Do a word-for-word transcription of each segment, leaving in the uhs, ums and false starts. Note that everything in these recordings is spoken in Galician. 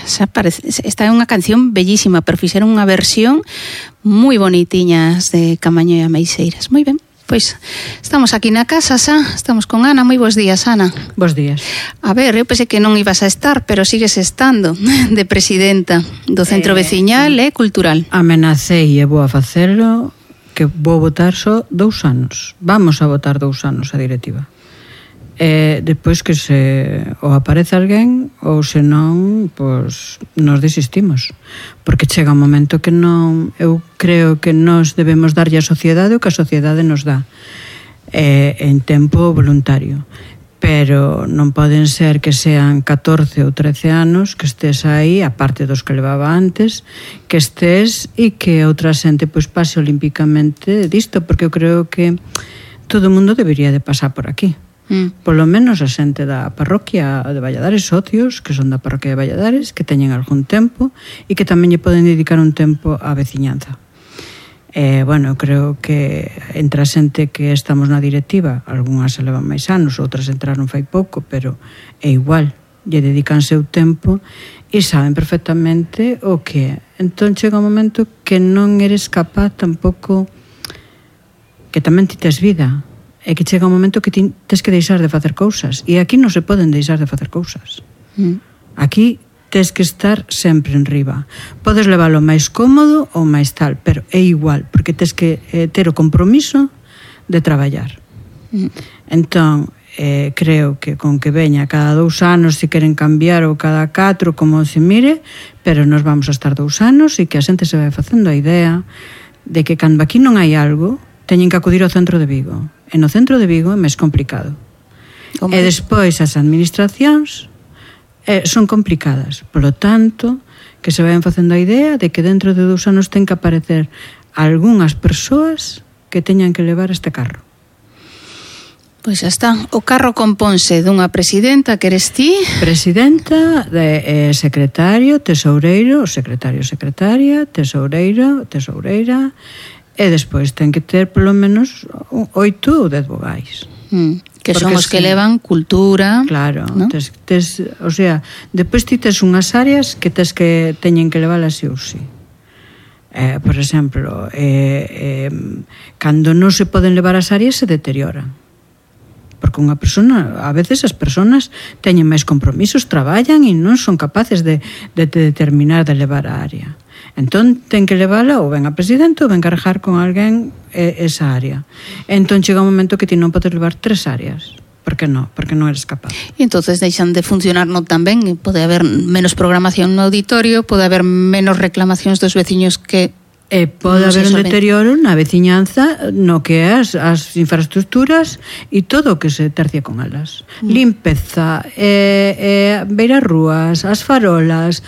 xa parece, esta é unha canción bellísima, pero fixeron unha versión moi bonitiñas de Camaño e Ameixeiras. Moi ben. Pois estamos aquí na casa, xa, estamos con Ana. Moi bons días, Ana. Bos días. A ver, eu pensei que non ibas a estar, pero sigues estando de presidenta do Centro eh, Veciñal e Cultural. Amenacei e vou a facelo que vou votar só dous anos. Vamos a votar dous anos a directiva. E depois que se ou aparece alguén ou se non, pois nos desistimos, porque chega un momento que non, eu creo que nos debemos darlle a sociedade o que a sociedade nos dá e, en tempo voluntario, pero non poden ser que sean catorce ou trece anos que estés aí, aparte dos que levaba antes, que estés e que outra xente pois pase olímpicamente disto, porque eu creo que todo o mundo debería de pasar por aquí. Mm. Polo menos a xente da parroquia de Valladares, socios que son da parroquia de Valladares, que teñen algún tempo e que tamén lle poden dedicar un tempo á veciñanza. Eh, bueno, creo que entre a xente que estamos na directiva, algunhas se levan máis anos, outras entraron fai pouco, pero é igual, lle dedican seu tempo e saben perfectamente o que é. Entón chega un momento que non eres capaz tampouco, que tamén ti tes vida, é que chega un momento que ti tes que deixar de facer cousas, e aquí non se poden deixar de facer cousas. Mm. Aquí tes que estar sempre en riba. Podes leválo máis cómodo ou máis tal, pero é igual, porque tes que eh, ter o compromiso de traballar. Mm. Entón, eh, creo que con que veña cada dous anos, se queren cambiar, ou cada catro, como se mire, pero nos vamos a estar dous anos e que a xente se vai facendo a idea de que cando aquí non hai algo, teñen que acudir ao centro de Vigo. E no centro de Vigo é máis complicado. Como? E despois as administracións eh, son complicadas. Por lo tanto, que se vayan facendo a idea de que dentro de dous anos ten que aparecer algunhas persoas que teñan que levar este carro. Pois xa está. O carro componse dunha presidenta, que eres ti? Presidenta, de, eh, secretario, tesoureiro, secretario, secretaria, tesoureiro, tesoureira, e despois ten que ter polo menos oito ou dez vogais. Mm, que porque son os que levan cultura. Claro, ¿no? tes, tes, o sea, despois ti tes unhas áreas que tes que teñen que leválas sí ou sí. Eh, por exemplo, eh, eh, cando non se poden levar as áreas se deterioran. Porque unha persona, a veces as persoas teñen máis compromisos, traballan e non son capaces de, de, de determinar de levar a área. Entón, ten que levála ou ben a presidente ou ben carregar con alguén eh, esa área. Entón, chega un momento que ti non podes levar tres áreas. Por que non? Porque non eres capaz. E entonces deixan de funcionar non tan ben, pode haber menos programación no auditorio, pode haber menos reclamacións dos veciños que... E pode no haber un deterioro na veciñanza no que é as, as infraestructuras e todo o que se tercia con elas. Mm. Limpeza, eh, eh, beiras rúas, as farolas,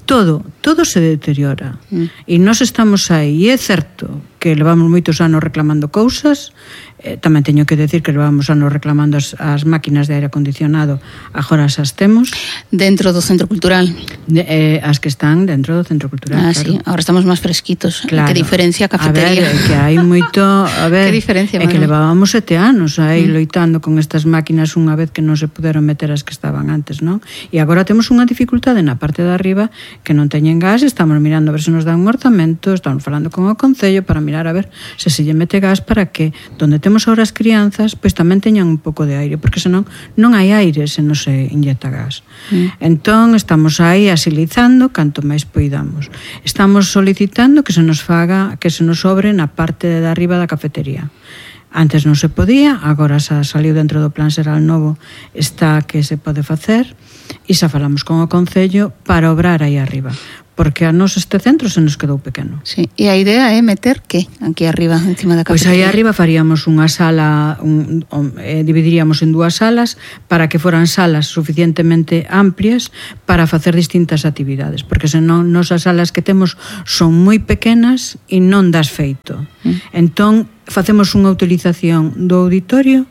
todo, todo se deteriora. Mm. E nós estamos aí, e é certo que levamos moitos anos reclamando cousas, eh, tamén teño que decir que levamos anos reclamando as, as máquinas de aire acondicionado, agora as temos. Dentro do Centro Cultural? De, eh, as que están dentro do Centro Cultural, ah, claro. Sí, agora estamos máis fresquitos. Claro. Que diferencia a cafetería. A ver, que hai moito... A ver, que diferencia, é que levábamos sete anos aí mm. loitando con estas máquinas unha vez que non se puderon meter as que estaban antes, non? E agora temos unha dificultade na parte de arriba que non teñen gas, estamos mirando a ver se nos dan un orzamento, estamos falando con o Concello para mirar a ver se se lle mete gas para que donde temos ahora as crianzas pois tamén teñan un pouco de aire, porque senón non hai aire se non se inyecta gas. Mm. Entón estamos aí asilizando canto máis poidamos. Estamos solicitando que se nos faga, que se nos sobre na parte de arriba da cafetería. Antes non se podía, agora xa saliu dentro do plan xeral novo, está que se pode facer e xa falamos con o Concello para obrar aí arriba. Porque a nos este centro se nos quedou pequeno. Sí, e a idea é meter que aquí arriba, encima da cafetería? Pois aí arriba faríamos unha sala, un, un, eh, dividiríamos en dúas salas para que foran salas suficientemente amplias para facer distintas actividades, porque senón nos as salas que temos son moi pequenas e non das feito. Mm. Entón, facemos unha utilización do auditorio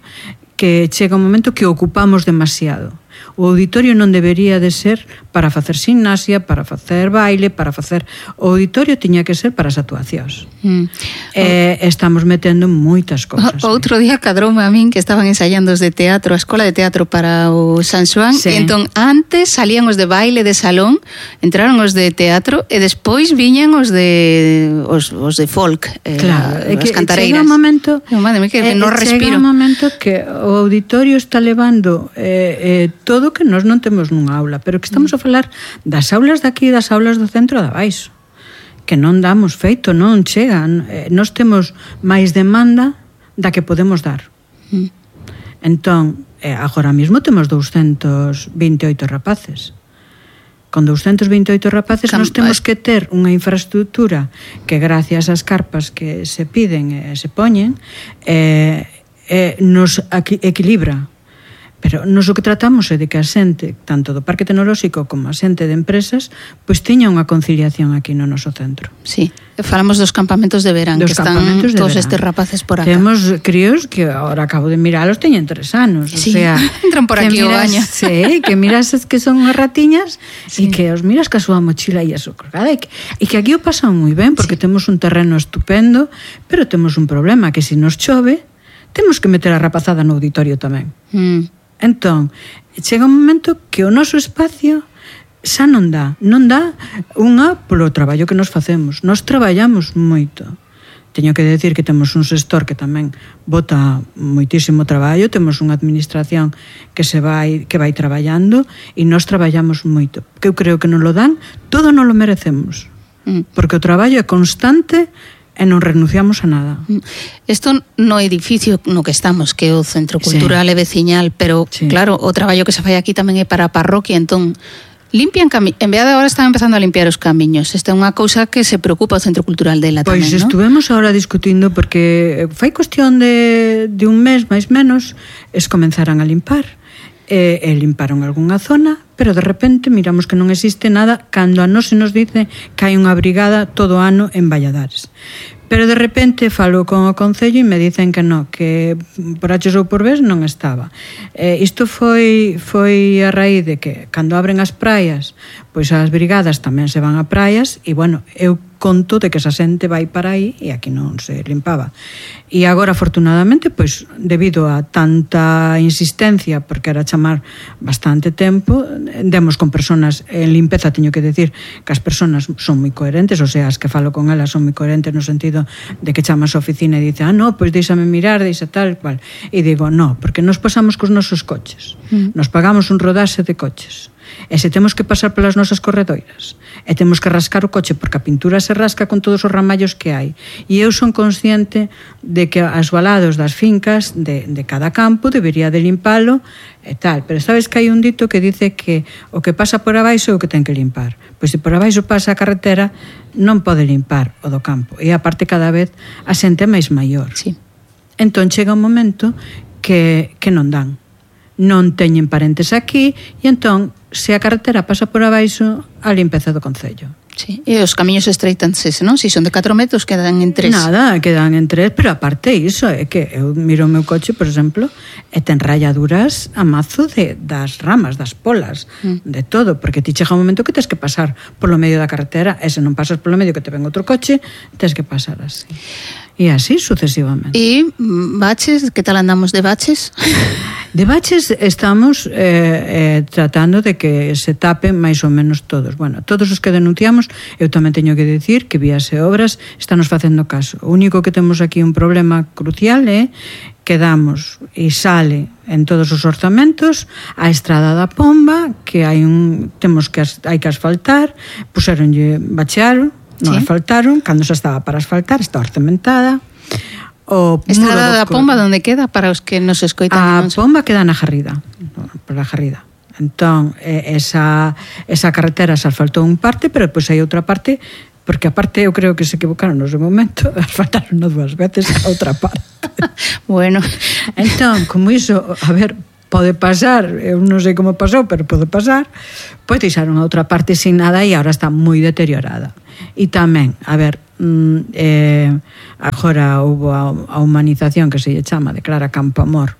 que chega un momento que ocupamos demasiado. O auditorio non debería de ser para facer gimnasia, para facer baile, para facer... O auditorio tiña que ser para as actuacións. Mm. Eh, estamos metendo moitas cousas. O, outro día cadroume a min que estaban ensaiando os de teatro, a escola de teatro para o San Xoán, sí. E entón antes salían os de baile de salón, entraron os de teatro e despois viñan os de os, os de folk, eh, claro, as que cantareiras. Chega un momento, oh, madre mía, que eh, non respiro. Chega un momento que o auditorio está levando eh, eh, todo que nós non temos nunha aula, pero que estamos mm. a falar das aulas de aquí e das aulas do centro de abaixo, que non damos feito, non chegan. Eh, nós temos máis demanda da que podemos dar. Mm. Entón, eh, agora mesmo temos doscientos veintioito rapaces. Con doscientos veintioito rapaces Cam... nós temos que ter unha infraestructura que gracias ás carpas que se piden e se poñen eh, eh, nos equilibra. Pero nos o que tratamos é de que a xente, tanto do Parque Tecnolóxico como a xente de empresas, pois tiña unha conciliación aquí no noso centro. Sí, falamos dos campamentos de verán, dos que están todos estes rapaces por acá. Temos críos que agora acabo de miralos, teñen tres anos, sí, o sea, entran por aquí o baño. Sí, que miras que son unhas ratiñas e sí. Que os miras ca súa mochila e a súa colgada e que, e que aquí o pasan moi ben porque sí. Temos un terreno estupendo, pero temos un problema que se nos chove, temos que meter a rapazada no auditorio tamén. Mm. Entón, chega un momento que o noso espacio xa non dá, non dá unha polo traballo que nos facemos. Nos traballamos moito. Teño que decir que temos un xestor que tamén bota moitísimo traballo, temos unha administración que se vai que vai traballando e nos traballamos moito. Que eu creo que non lo dan, todo non lo merecemos. Porque o traballo é constante e non renunciamos a nada. Isto no edificio no que estamos, que é o Centro Cultural sí. E Veciñal, pero sí. Claro, o traballo que se fai aquí tamén é para a parroquia, entón limpian camiños, en vez de agora están empezando a limpiar os camiños. Esta é unha cousa que se preocupa o Centro Cultural dela tamén, pois estuvemos ¿no? Ahora discutindo porque fai cuestión de, de un mes máis menos es comenzaran a limpar e, e limparon algunha zona, pero de repente miramos que non existe nada cando a nós se nos dice que hai unha brigada todo o ano en Valladares. Pero de repente falo con o Concello e me dicen que non, que por H ou por B non estaba. Eh, isto foi foi a raíz de que cando abren as praias, pois as brigadas tamén se van a praias e, bueno, eu conto de que esa xente vai para aí e aquí non se limpaba. E agora, afortunadamente, pois, debido a tanta insistencia, porque era chamar bastante tempo, demos con personas en limpeza, teño que decir que as personas son moi coherentes, o sea, as que falo con elas son moi coherentes no sentido de que chamas a oficina e dice, ah, no, pois deixame mirar, deixa tal, cual. E digo, no, porque nos pasamos cos nosos coches. Mm. Nos pagamos un rodaxe de coches. E se temos que pasar pelas nosas corredoiras e temos que rascar o coche porque a pintura se rasca con todos os ramallos que hai, e eu son consciente de que as balados das fincas de, de cada campo debería de limpalo e tal, pero sabes que hai un dito que dice que o que pasa por abaixo é o que ten que limpar, pois se por abaixo pasa a carretera non pode limpar o do campo, e aparte cada vez a xente é máis maior. Sí. Entón chega un momento que, que non dan, non teñen parentes aquí e entón se a carretera pasa por abaixo a limpeza do Concello. Sí. E os camiños estreitanse, non? Se son de catro metros quedan en tres. Nada, quedan en tres, pero aparte iso é que eu miro o meu coche, por exemplo, e ten rayaduras a mazo de, das ramas, das polas, mm. de todo, porque ti chega un momento que tens que pasar polo medio da carretera, e se non pasas polo medio que te ven outro coche, tens que pasar así. E así sucesivamente. E baches, que tal andamos de baches? De baches estamos eh, eh, tratando de que se tapen máis ou menos todos. Bueno, todos os que denunciamos, eu tamén teño que decir que Vías e Obras estános facendo caso. O único que temos aquí un problema crucial é que damos e sale en todos os orzamentos a estrada da Pomba, que hai un temos que hai que asfaltar, puseronlle bachearon, non ¿sí? asfaltaron, cando xa estaba para asfaltar, está orçamentada. O estrada da Pomba, onde queda para os que nos escoitan? A Pomba queda na Jarrida, por a Jarrida. Entón, esa, esa carretera se asfaltou un parte, pero depois hai outra parte, porque a parte eu creo que se equivocaron no seu momento, asfaltaron dúas veces a outra parte. Bueno. Entón, como iso, a ver, pode pasar, eu non sei como pasou, pero pode pasar, pois deixaron a outra parte sin nada e agora está moi deteriorada. E tamén, a ver, eh, agora houve a, a humanización que se lle chama, declara Campo Amor,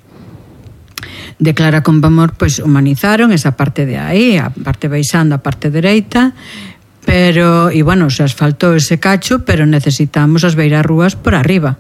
De Clara Campoamor, pois humanizaron esa parte de aí, a parte baixando, a parte dereita, pero, e bueno, se asfaltou ese cacho, pero necesitamos as beirarrúas por arriba,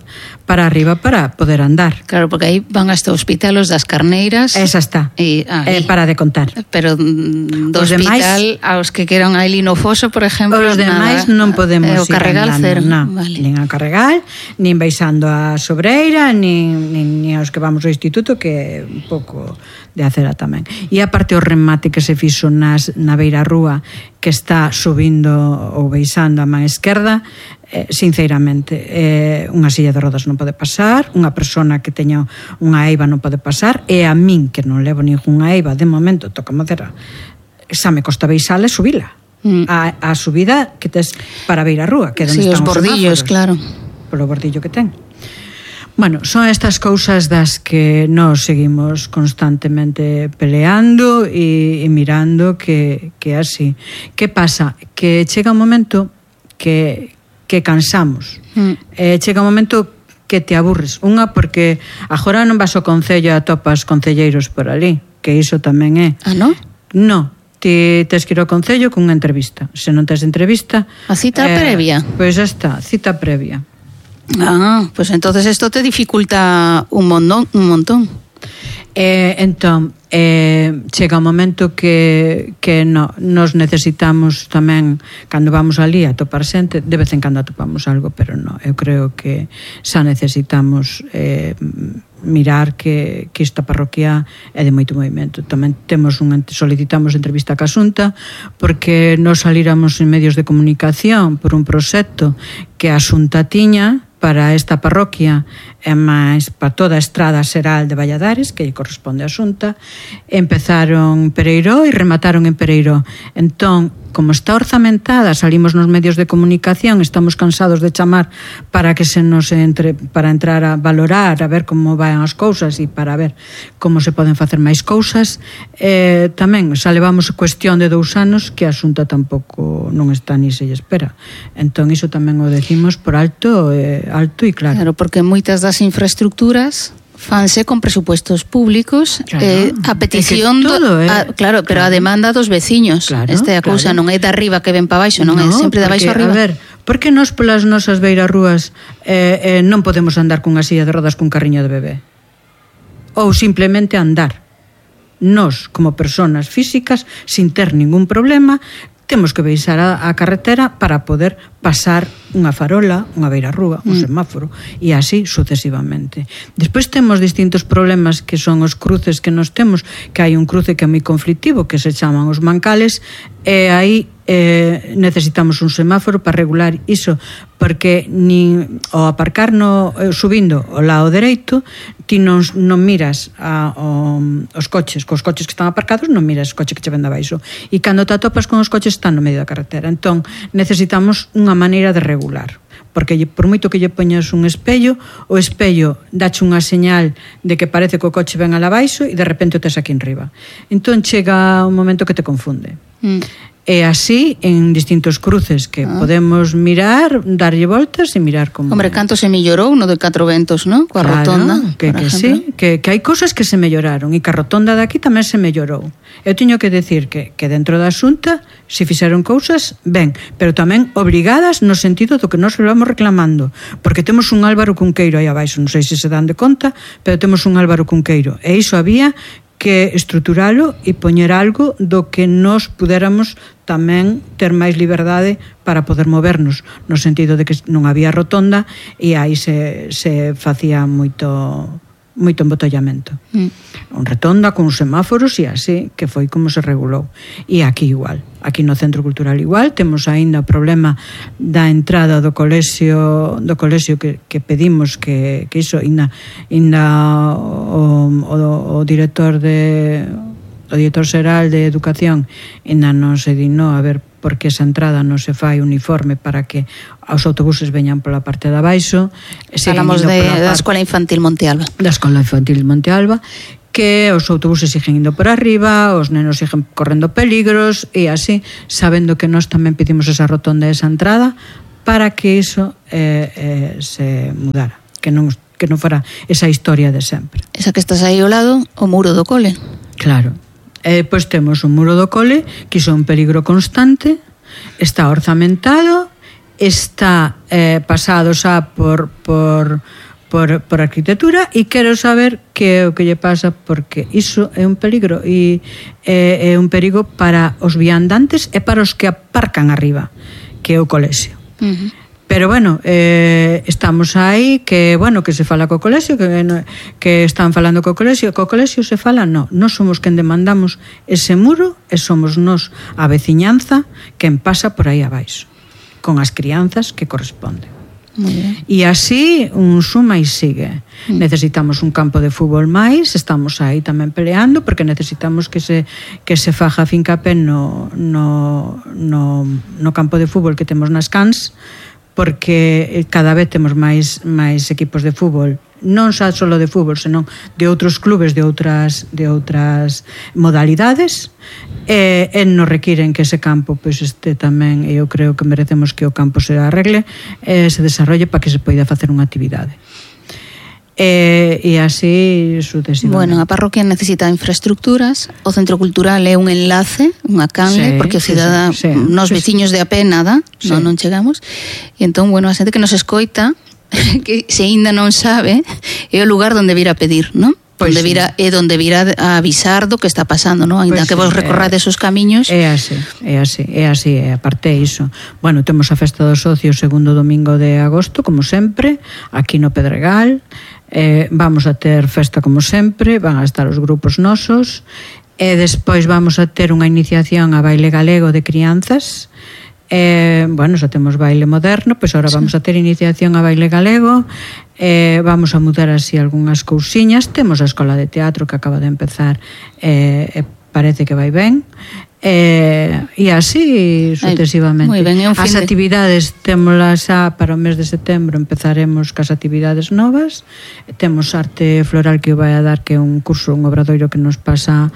para arriba para poder andar. Claro, porque aí van hasta o hospital os das Carneiras. Esa está, e, ah, eh, para de contar. Pero do os hospital demais, aos que queran a Elino Foso, por exemplo, os demais nada, non podemos eh, o Carregal ir cero, no, vale. Nin a Carregal, nin baixando a Sobreira, nin, nin, nin aos que vamos ao instituto, que é un pouco de acera tamén. E a parte o remate que se fixo nas, na beira rúa, que está subindo ou baixando a man esquerda, eh, sinceramente, eh, unha silla de rodas non pode pasar, unha persona que teña unha eiva non pode pasar, e a min, que non levo ninguna eiva, de momento, toca madera, xa me costa baixala e subila. Mm. A, a subida que tes para beira rúa, que é onde sí, están os bordillos, semáforos, claro. Polo bordillo que ten. Bueno, son estas cousas das que nos seguimos constantemente peleando e, e mirando que, que así. Que pasa? Que chega un momento que, que cansamos. Mm. Eh, chega un momento que te aburres. Unha, porque agora non vas ao concello e atopas concelleiros por ali, que iso tamén é. Ah, non? Non. Ti tes que ir ao concello con unha entrevista. Se non tes entrevista... A cita eh, previa? Pois xa está, cita previa. Ah, pues entonces esto te dificulta un montón, un montón. Eh, entón, eh, chega un momento que, que no, nos necesitamos tamén, cando vamos ali a topar xente, de vez en cando atopamos algo, pero no, eu creo que xa necesitamos eh, mirar que, que esta parroquia é de moito movimento. Tamén temos un, solicitamos entrevista ca Xunta porque nos salíramos en medios de comunicación por un proxecto que a Xunta tiña para esta parroquia e máis para toda a estrada xeral de Valladares, que corresponde á Xunta. Empezaron Pereiró e remataron en Pereiró. Entón, como está orzamentada, salimos nos medios de comunicación, estamos cansados de chamar para que se nos entre, para entrar a valorar, a ver como van as cousas e para ver como se poden facer máis cousas. Eh, tamén xa levamos cuestión de dous anos que a Xunta tampouco non está ni se lle espera. Entón, iso tamén o decimos por alto, eh, alto e claro. Claro, porque moitas das infraestructuras fanse con presupuestos públicos, claro, eh, a petición é todo, eh, a, claro, pero claro, a demanda dos veciños. Claro, Esta é a cousa, claro. Non é de arriba que ven para baixo, non no, é sempre de baixo arriba. A ver, por que nós polas nosas beirarrúas eh, eh, non podemos andar cunha silla de rodas cun carriño de bebé? Ou simplemente andar. Nós, como persoas físicas, sin ter ningún problema, temos que baixar a, a carretera para poder pasar unha farola, unha beirarrúa, un mm. semáforo, e así sucesivamente. Despois temos distintos problemas que son os cruces que nos temos, que hai un cruce que é moi conflictivo, que se chaman os mancales, e aí eh, necesitamos un semáforo para regular iso, porque nin ao aparcar no, subindo ao lado dereito, ti non, non miras a, o, os coches, cos coches que están aparcados, non miras o coche que che ven de abaixo, e cando te atopas con os coches están no medio da carretera. Entón, necesitamos unha maneira de regular, porque por moito que lle poñas un espello, o espello dache unha señal de que parece que o coche ven al abaixo e de repente o tes aquí en riba. Entón chega un momento que te confunde. Mm. E así en distintos cruces que ah. podemos mirar, darlle voltas e mirar como... Hombre, canto se mellorou no de Catro Ventos, non? Coa claro, rotonda, que, que sí, que, que hai cosas que se melloraron e que a rotonda de aquí tamén se mellorou. Eu teño que decir que, que dentro da Xunta se fixeron cousas ben, pero tamén obrigadas no sentido do que nós vamos reclamando, porque temos un Álvaro Cunqueiro aí abaixo, non sei se se dan de conta, pero temos un Álvaro Cunqueiro, e iso había que estruturalo e poñer algo do que nos pudéramos tamén ter máis liberdade para poder movernos, no sentido de que non había rotonda e aí se, se facía moito moito embotollamento. Mm. Un rotonda con semáforos e así, que foi como se regulou. E aquí igual, aquí no Centro Cultural igual, temos aínda o problema da entrada do colexio, do colexio que, que pedimos que, que iso, inda, inda o, o, o director de o director xeral de Educación inda non se dignou a ver porque esa entrada non se fai uniforme para que os autobuses veñan pola parte de abaixo. Falamos de, da Escola Infantil Monte Alba. Da Escola Infantil Monte Alba, que os autobuses siguen indo por arriba, os nenos siguen correndo peligros e así, sabendo que nós tamén pedimos esa rotonda e esa entrada para que iso eh, eh, se mudara, que non, que non fora esa historia de sempre. Esa que estás aí ao lado, o muro do cole. Claro. E depois temos o muro do cole, que iso é un peligro constante, está orzamentado, está eh, pasado xa por, por, por, por arquitectura, e quero saber que é o que lle pasa, porque iso é un peligro, e é, é un perigo para os viandantes e para os que aparcan arriba, que é o colexio. Uh-huh. Pero bueno, eh, estamos aí, que bueno, que se fala co colexio, que, que están falando co colexio, co colexio se fala, no, non somos quen demandamos ese muro, e somos nos a veciñanza quen pasa por aí abaixo, con as crianzas que corresponden. E así un suma e sigue. Mm. Necesitamos un campo de fútbol máis, estamos aí tamén peleando, porque necesitamos que se, que se faja fincapé no, no, no, no campo de fútbol que temos nas cans, porque cada vez temos máis máis equipos de fútbol, non só só de fútbol, senón de outros clubes de outras de outras modalidades, e, e nos requiren que ese campo pois este tamén, e eu creo que merecemos que o campo se arregle e se desarrolle para que se poida facer unha actividade. E, e así sucesivamente. Bueno, a parroquia necesita infraestructuras, o centro cultural é un enlace, unha canle, sí, porque o cidadá, sí, sí, nos sí, veciños sí. de a pé nada, sí. non, non chegamos, e entón, bueno, a xente que nos escoita, que se ainda non sabe, é o lugar onde vir a pedir, non? Pois onde vira, sí. É onde vir a avisar do que está pasando, non? Ainda pois que vos recorrades os camiños. É así, é así, é así, é aparte iso. Bueno, temos a festa do socio o segundo domingo de agosto, como sempre, aquí no Pedregal. Eh, vamos a ter festa como sempre, van a estar os grupos nosos, e despois vamos a ter unha iniciación a baile galego de crianzas. Eh, bueno, xa temos baile moderno, pois agora sí. vamos a ter iniciación a baile galego, eh, vamos a mudar así algunhas cousiñas, temos a escola de teatro que acaba de empezar, eh, e parece que vai ben, eh, e así sucesivamente. Ay, ben, as actividades témolas xa para o mes de setembro, empezaremos cas actividades novas, temos arte floral que vai a dar, que é un curso, un obradoiro que nos pasa,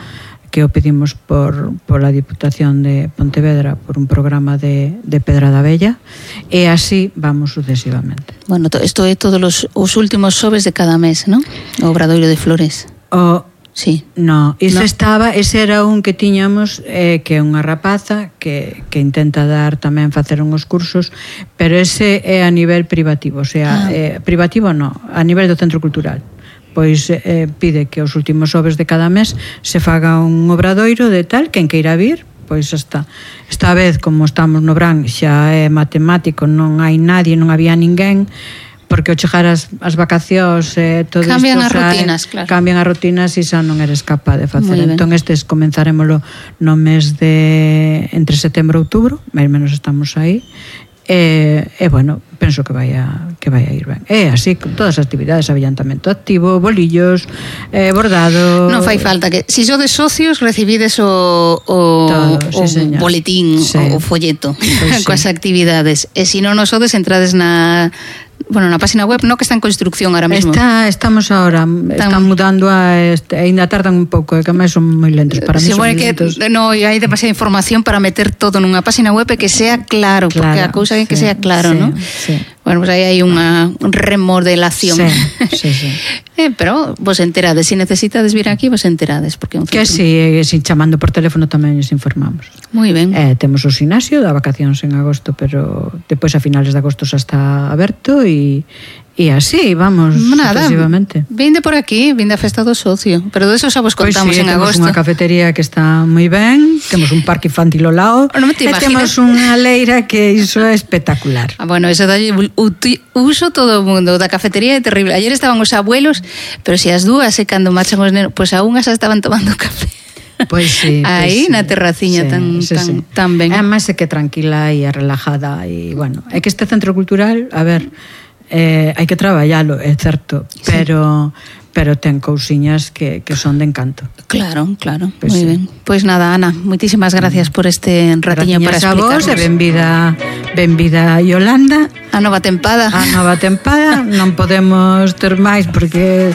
que o pedimos por, por la Diputación de Pontevedra, por un programa de, de Pedrada Bella, e así vamos sucesivamente. Bueno, isto é todos os, os últimos xoves de cada mes, non? O obradoiro de flores. O Sí. No, ese no. estaba, ese era un que tiñamos, eh, que é unha rapaza que, que intenta dar tamén facer uns cursos, pero ese é a nivel privativo, o sea, ah. eh, privativo no, a nivel do centro cultural. Pois eh, pide que os últimos xoves de cada mes se faga un obradoiro de tal, quen queira vir, pois está. Esta vez, como estamos no Bran, xa é matemático, non hai nadie, non había ninguén, porque ao chegar as, as vacacións eh, todo cambian isto, as rutinas, eh, claro. Cambian as rutinas e xa non eres capaz de facer. Entón estes comenzaremoslo no mes de entre setembro e outubro, máis ou menos estamos aí. E, e bueno, penso que vai a, que vai a ir ben. É así, con todas as actividades, avillantamento activo, bolillos, eh, bordado. Non fai falta que, se si sodes socios, recibides o, o, todo, o sí, boletín, sí. o, o folleto, pues coas sí. actividades. E se si non nos sodes, entrades na bueno, na página web, no, que está en construcción ahora mesmo. Está, estamos ahora, están, están mudando a este, ainda tardan un pouco, que máis son moi lentos para mí. Sí, bueno, que no, hai demasiada información para meter todo nunha página web e que sea claro, claro, porque a cousa é que sí, sea claro, sí, ¿no? Sí. Bueno, pues aí hai unha remodelación. Sí, sí, sí. eh, pero vos enterades, se si necesitades vir aquí, vos enterades, porque un que si, si chamando por teléfono tamén os informamos. Moi ben. Eh, temos o gimnasio, da vacacións en agosto, pero depois a finales de agosto xa está aberto e E así, vamos, nada, sucesivamente. Vinde por aquí, vinde a festa do socio, pero de eso xa vos contamos pues sí, en agosto. Temos unha cafetería que está moi ben, temos un parque infantil ao lado, no e temos unha leira que iso é espectacular. Ah, bueno, eso dalle uso todo o mundo, da cafetería é terrible. Ayer estaban os abuelos, pero se as dúas e cando marchan os nenos, pois pues a unhas xa estaban tomando café. Pois sí, aí pues na terraciña sí, tan, sí, tan, sí. tan ben. Además é que tranquila e relajada e bueno, é que este centro cultural, a ver, eh, hai que traballalo, é certo, sí. pero pero ten cousiñas que, que son de encanto. Claro, claro, pues moi sí. ben. Pois pues nada, Ana, moitísimas gracias por este ratiño para explicarnos. A vos, e benvida, benvida Yolanda. A nova tempada. A nova tempada, non podemos ter máis porque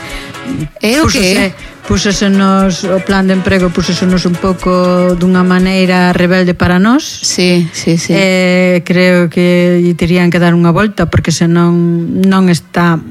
é o que Púxosenos o plan de emprego, púxosenos un pouco dunha maneira rebelde para nós. Sí, sí, sí. Eh, creo que lle terían que dar unha volta porque senón non está